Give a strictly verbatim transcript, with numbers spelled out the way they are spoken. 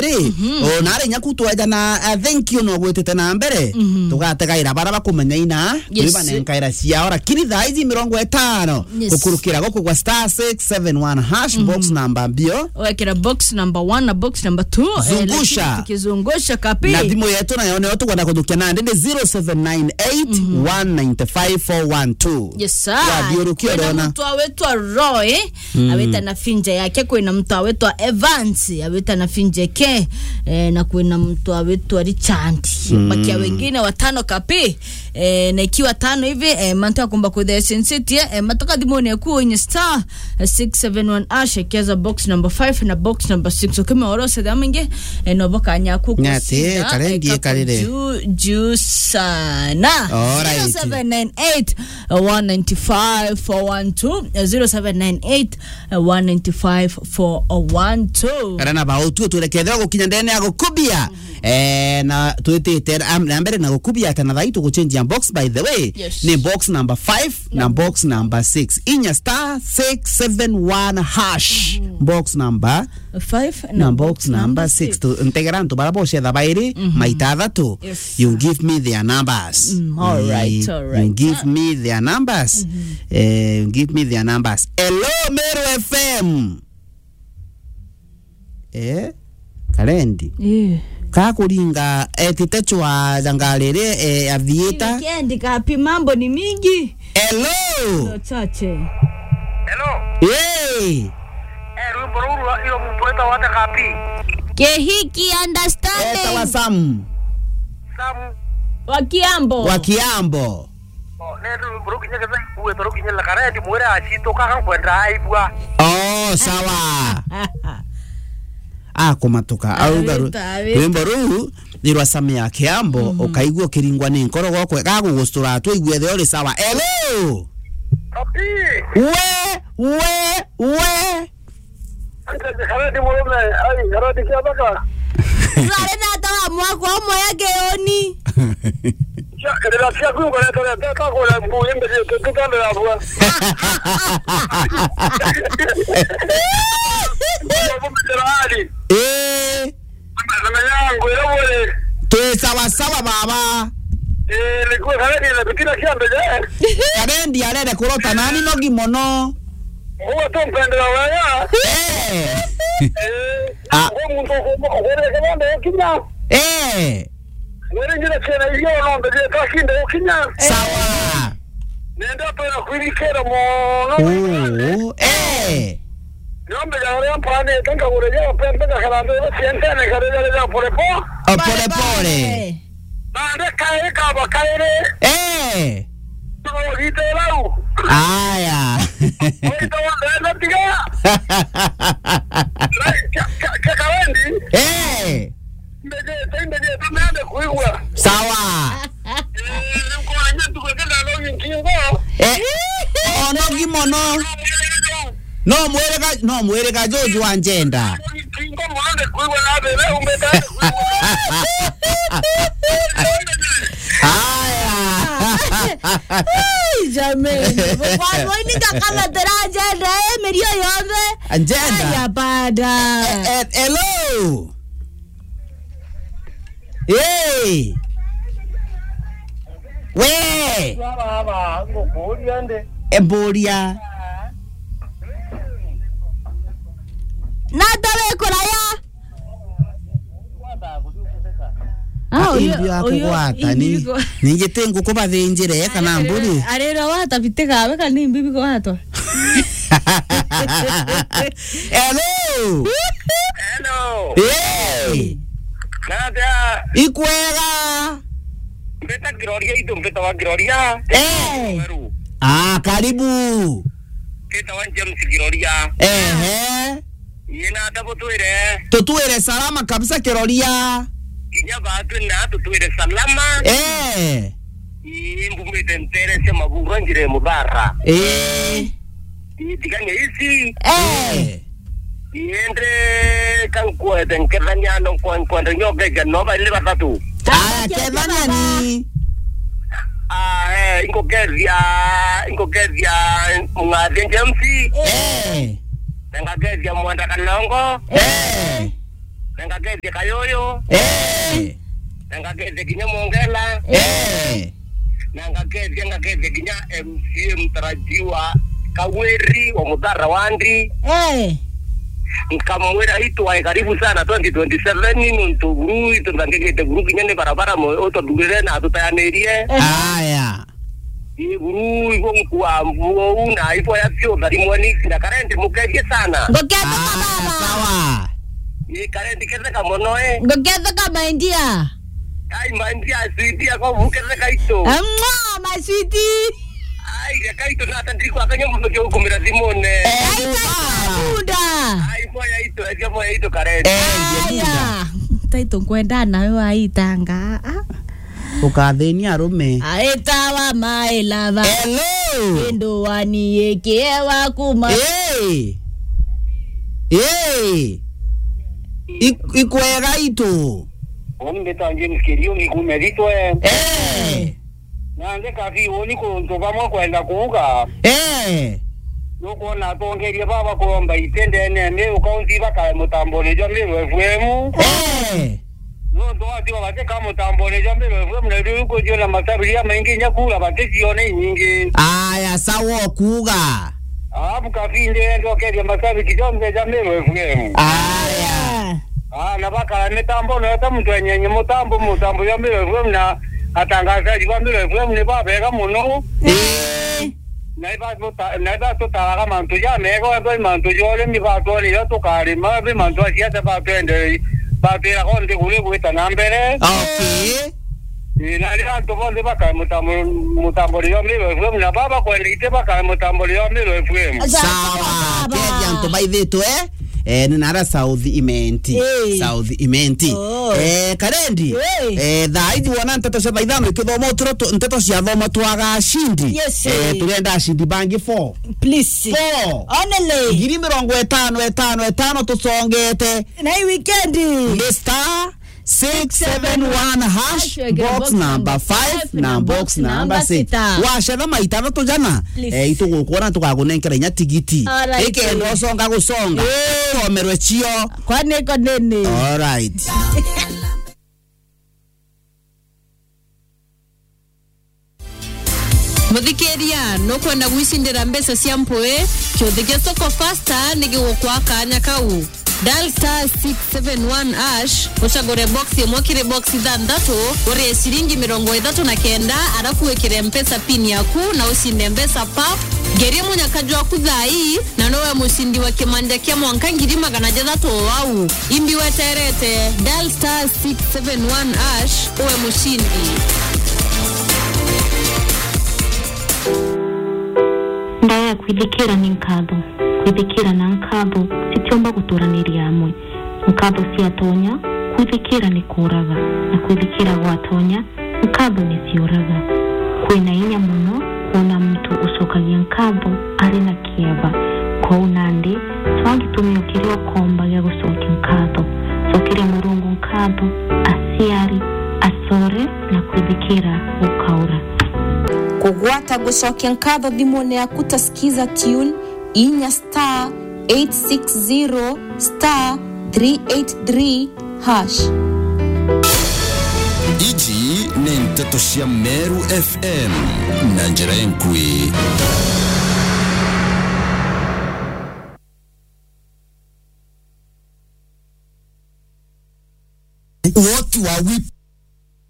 Ri, o, na ari nyaku twajana, uh, thank you no gwitite na mbere. Tugategaira bara bakumenya ina, Yes. Twibanenkaira ciao, lakini thaa ici mirongo itano, Yes. gukurukira guku gwa star six seven one hash, box number mbio. Wekira box number one na box number two, eh, Zungusha. Lakini tukizungusha kapi. Na thimu yetu nayo niyo tukwenda kuthukia nandi ni zero seven nine eight, one nine five, four one two. Yes, sir. Wathiurukia Kwina urona. Mtu awetwa Roy, awita na finja yake, kwina mtu awetwa Evans, awita na finja yake, eh, na kwina mtu awetwa Richard. Bakia wengine watano kapi, eh, na ikiwa tano hivi, eh, mantu akumba kwithia sensitie, eh, matoka thimuni yaku inye star six seven one hash, ekeza box number five na box number six. Ukime oro se damu inge, eh, no boka nyaku Nyati, kusinda, karendi eh, kapu ekarire. Juu, juu sana. All right. Zero seven nine eight, one nine five, four one two, zero seven nine eight, one nine five, four one two. Kana na bau tu turekethera gukinya ndene ya gukubia. Eh, na twitite am-, na mbere na gukubia ata na thai tuguchenjia box, by the way. Yes. Ni box number five na box number six. Inya star six seven one hash. Box number five na box number six. Tu-, ntegera antu bara bocetha bairi, maita athatu. Yes. You give me their numbers. Mm, all right, Eh, all right. You give me their numbers. Eh, you give me their numbers. Hello, Meru F M. Eh, Karendi. Eh. Kakuringa etite chwa jangariri, eh, athiita. Weekend kapi, mambo ni mingi. Hello. Ndo chache. Hello. Hey. Eh, rwimbo ruu rwa iro muntu wetagwa atia kapi? Kehiki understanding. Etawa Sam. Sam. Wa Kiambo. Wa Kiambo. Oh, ne rwimbo ruu kinya ketha ikuwetwa ruu kinya la Karendi mwire acituka kankwenda aigua. Oh, sawa. Akumatuka. Auga ru-, Awita, awita. Rwimbo ruu ni rwa Sam ya Kiambo, ukaigua ukiringwa ni nkoro gokwe, gagugustura tu, aigue the uri sawa. Hello! Papi! We, we, we! Karati murume, ai, karati kia thaka. Rari na tawa mwakwa umwe ya Kioni. Cia, rira ciaku ukoretwo reteta kura mbu, imbe cie tutu kando ya bua. Mbu miterari. Eh. Na yangu, ira bure. Twi sawa sawa, baba. Eh, nikuo kare ni na bitina kia mbele. Karendi arere kurota nani nogi mono. Uwe tu mpendera wega. Eh. Eh. Ah. Uwe muntu uko-, uko-, uko-, uko-, ukinya. Eh. Mwere njira ciana iria no mbere kakinde ukinya. Sawa. Nenda pera kwirikira mono. Oh, eh. Niombe ya uria mpanite nkagura ya pembe na karande ya sientene karere ya pole po. Oh, pole pole. Pole. Bande kae kaba kaere. Eh. Tuko gite lau. Aya. Oito wanda tiga. Ka, ka, ka Karendi. Eh. Mbejete, mbejete, mende kuigua. Sawa. Eh, nkuona ntuku kenda no nkingo. Eh, o nogi mono. No mwirega, no mwirega Jojo wa njenda. Nkingo mono nde kuigua na bebe, umbeta kuigua. Haya. Ai, jameni. Kwa nini kama teraje nda, eh, mirio yonthe? Njenda. Aya, bada. Eh, eh, hello. Hey! We! Baba, ngukuria ndi. Emburia. Na ndawe kuraya. Ah, uyu, imbi wa uyu, kugwata, imbi ni, biko- ningi ti nguku bathinjire, kana mburi? Arira watabitikawe, kana imbi bigwatwa. Hello. Hello. Hey. Natia. Ikwega. Mbeta Kiroria, itu mbeta wa Kiroria. Eh. Weru. Ah, karibu. Mbeta wa James Kiroria. Ehe. Yena tabu twire. Tutwire salama kabisa Kiroria. Kinya batu na tutwire salama. Eh. Ii, mbumite ntere cia Maguru njire Muthara. Ii. Ii, tigania ici. Eh. Ii, indi kankwete nkethania no kwa-, nkwenda nyoke ja no bali batatu. Aya, kethania ni. Ah, eh, inkukethia, inkukethia Mung'athia James. Eh. Na ngakethia Mwenda Kanongo. Eh. Na ngakethia Kayuyu. Eh. Na ngakethia kinya Mongela. Eh. Na ngakethia, ngakethia kinya M C A mtarajiwa Kawiri wa Muthara Wandi. Eh. Nkamwira itwae karibu sana twenty twenty-seven, nontu buru itu nthangigite buru kinya ni barabara mo-, ututhurire na atutayanirie. Eh. Aya. Ii buru ibo nkua mbuo u na ibo ya sio thari mweni na Karendi mukethie sana. Ngukethia. Ah, baba. Sawa. Ii Karendi ketheka mono, eh. Ngukethia my dear. Ai, my dear, sweetie, ako buketheka itu. Mwa, my sweetie. Ai, reka itu na ata ndiri kwakanya mundu kia gukumira thimune. Eh, ai, bunda. Ai, moya itu, eja moya itu Karendi. Eh, aya. Bunda. Taito nkwenda nawe waitanga. Ah. Ukathinia arume. Aitawa my lover. Hello. Kindu wani ikiewa kuma. Hey. Hey. Ik-, ikwega itu. Uni mbita James Kiriungi kume Thitwe. Eh. Nandi kabi uni kuntu bamwe kwenda kuuga. Eh. Nukwona atongeria baba kuromba itendene ni ukaunti bakae mutamboni jwa Meru F M. Eh. Nontu watigwa batika mutambone jwa Meru F M na riu kujiona masabiria maingi inya kura baticione inyingi. Aya, sawa okuuga. Alafu kabinde ndokeria masabiki jonthe ja Meru F M. Aya. Ah, na bakara mitambo na ta muntu enyenye mutambo, mutambo jwa Meru F M na atangazaji ba Meru F M ni babega muno. Eh. Na iba tuta-, na iba tutaraga mantu jamega, wethwa i mantu ja urimi batwonire tukarima, bi mantu a siasa batwendere, batwiraga o nthiguru igwita na mbere. Okay. Ii, na riria antu bonthe bakae mutambo-, mutamburi jwa Meru F M, na baba kwenda ite bakae mutamburi jwa Meru F M. Sawa, sawa, baba. Kethi antu baithitwe, eh, ni nara South Imenti. Ii. South Imenti. Oh. Eh, Karendi. Ii. Eh, thaa ici wona nteto cia thaa ithano ikithoma uturo tu-, nteto cia thoma twaga ashindi. Yes, eh, ii. Turenda ashindi bangi four. Please. Four. Only. Ngiri mirongo itano, itano, itano tusongete. Na hii weekend. Ni star six seven one hash, box number five na box number six. Wacetha maita jathatu jana, please, eh, itugukwona tugakunenkera inya tigiti. Alright. Ikenda usonga gusonga. Eh. Usomerwe cio. Kwani iko nini? Alright. Muthikiria, nukwenda gwicindira mbeca cia mpui? Kiuthi kia Soko Fasta ni gigukwa kanya kau. Dial star six seven one hash, ucagure box imwe kiri box ithanthatu, urie ciringi mirongo ithatu na kenda, arafu wikire Mpesa pin yaku na ucinde mbeca pap. Ngeria munyaka jwaku thaa ii, na nowe mucindi wa kimanja kia mwanka ngiri magana jathatu o au. Imbi weterete, dial star six seven one hash, uwe mucindi. Ndaya kwithikira ni nkatho. Kwithikira na nkatho citiumba guturaniria amwe. Nkatho ciatonya, kwithikira ni kuuraga, na kwithikira gwatonya, nkatho ni ciuraga. Kwina inya mono kwona muntu ucokagia nkatho ari na kieba. Kwou nandi, cwaa gitumiyo kiria ukomba gia gucokia nkatho. Cokeria Murungu nkatho, aciari, acore, na kwithikira gukaura. Kugwata gucokia nkatho thimune yaku ta Skiza Tune, inya star eight six zero star three eight three hash. Iji ni nteto cia Meru F M na njira enkui. What were we